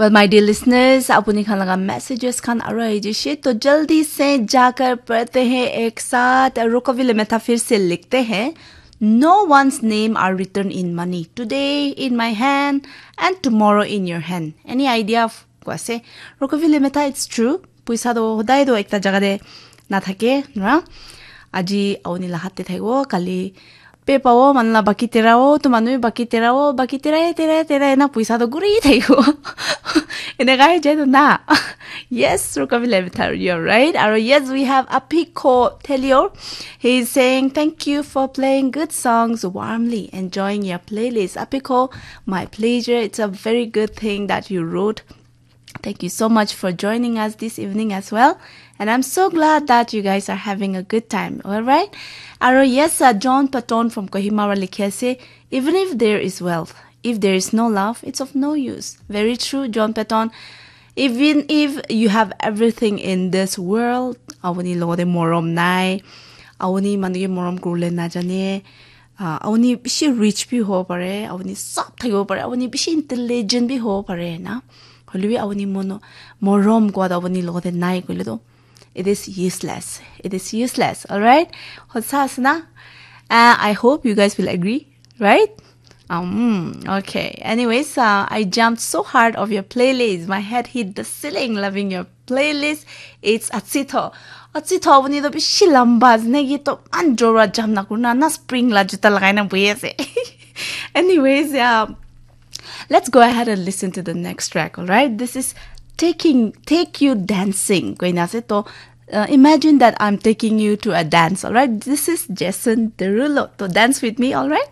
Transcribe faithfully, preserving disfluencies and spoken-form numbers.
Well, my dear listeners, apuni khan laga messages khan aro ahi jishe, to jaldi se jaakar padhte hain ek saath. Ruko Vile Mitha phir se likhte hain, no one's name are written in money. Today in my hand and tomorrow in your hand. Any idea of koi ase? Ruko Vile Mitha, it's true. Puisa to hodai to ekta jaga te nathake, na? Aji auni la hat te thaibo, kali pe pabo, manu la baki terabo, to manu bi baki terabo, baki terai, terai, terai na puisa to guri thaibo. Enekai jai to na. Yes, Ruko Vile Mitha, you're right. Aro yes, we have Apiko Telio. He's saying, "Thank you for playing good songs warmly, enjoying your playlist." Apiko, my pleasure. It's a very good thing that you wrote. Thank you so much for joining us this evening as well. And I'm so glad that you guys are having a good time. All right? Aro yes, uh, John Patton from Kohima wa likhi ase, "Even if there is wealth, if there is no love, it's of no use." Very true, John Patton. Even if you have everything in this world, apuni logote morom nai, apuni manu ke morom kurle na jane, ah, apuni bishi rich bi hobo pare, apuni sob thakibo pare, apuni bishi intelligent bi hobo pare na. Hoilebi apuni mono, morom kua to apuni logote nai koile to, it is useless. It is useless, all right? Hosa ase na? Uh, I hope you guys will agree, right? Um, okay. Anyways, uh, I jumped so hard of your playlist. My head hit the ceiling loving your playlist. It's Atsitho. Atsitho, apuni to bishi lamba ase naki, to man jora jump na kurna na, spring la juta lagai na bohi ase. Anyways, yeah. Let's go ahead and listen to the next track, all right? This is taking take you dancing. Koina ase to, uh, imagine that I'm taking you to a dance, all right? This is Jason Derulo. To dance with me, all right?